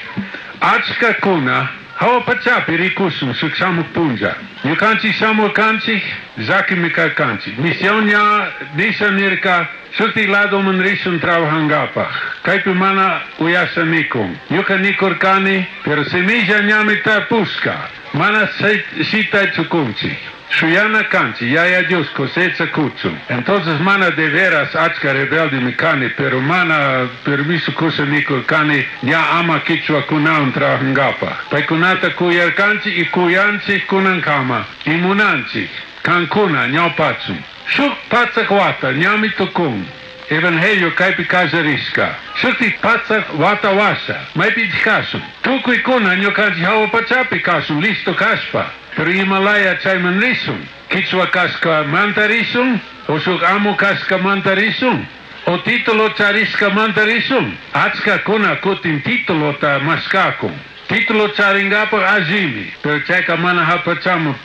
achka kuna hawa pachapi rikushun shuk shamuk punlla. Ñukanchik shamurkanchik llakimi karkanchik. Misión ña nisha nirka shuktik ladoman rishun trabajangapaj. Kaypi mana uyasha nikun. Ñuka nikurkani, pero semilla ñami tarpushka. Mana shitaychu kunchik. Shuyana kanchi, Yaya Dios cosecha kuchun. Entonces mana de veras achka rebelde mi kani, pero mana permiso kusha nikurkani, ña ama kichwa kunawan trabajangapaj. Paykunata kuyarkanchik y kuyanchik kunankama, y munanchik, kankuna ñawpachun. Shuk patsak wata ñami tukun. Evangelio kaypi kallarishka. Shukti patsak wata washa, maypi kashun. Tukuykuna ñukanchik hawa pachapi kashun, listo kashpa. Pero Himalaya chayman rishun. Kichwa kashka manta rishun, o shuk amu kashka manta rishun, o título charishka manta rishun. Achka kuna kutin titulota mashkakun. Título charingapaj allimi, pero chayka mana hapachama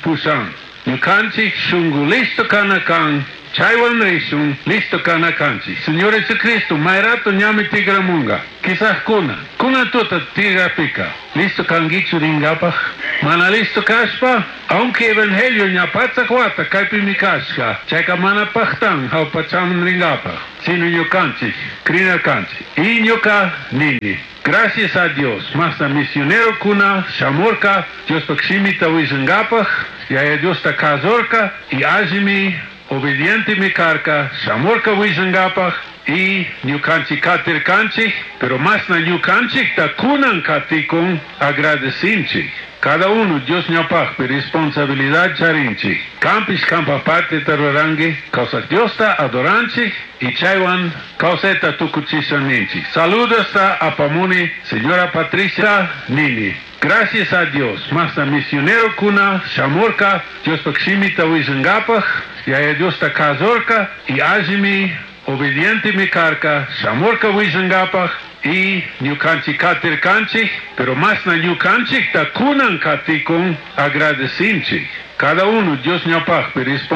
pushan. Ñukanchik shunku listo kana kan, Chaywan rishun, listo kana kanchik. Señor Jesucristo, may rato ñami tigramunga. Quizás kuna, kuna tuta tigrapika. Listo kanguichu ringapaj. Mana listo kashpa, aunque evangelio ña patsak wata kaypimi kashka, chayka mana paktan jawpachaman ringapaj. Sino ñukanchik, krina kanchik. Y ñuka nini. Gracias a Dios, mashna misionero kuna, shamurka, Diospaj shimita willangapaj, Yaya Diosta kazurka, y allimi obediente karka, shamurka willangapaj, y ñukanchik katirkanchik, pero mashna ñukanchik ta kunan katikun agradecinchik. Cada uno Dios ñawpajpi responsabilidad charinchik. Kanpish kanpa parte rurangi, kawsak Diosta adoranchik y chaywan kawsayta tukuchisha ninchik. Saludos a apamuni, señora Patricia Nini. Gracias a Dios, mashna misionero kuna, shamurka, Diospaj shimita willangapaj, Yaya Diosta kazurka, y allimi obediente karka, shamurka willangapaj, y ñukanchik katirkanchik, pero mashna ñukanchik ta kunan katikun agradecinchik. Cada uno Dios ñawpajpi responsabilidad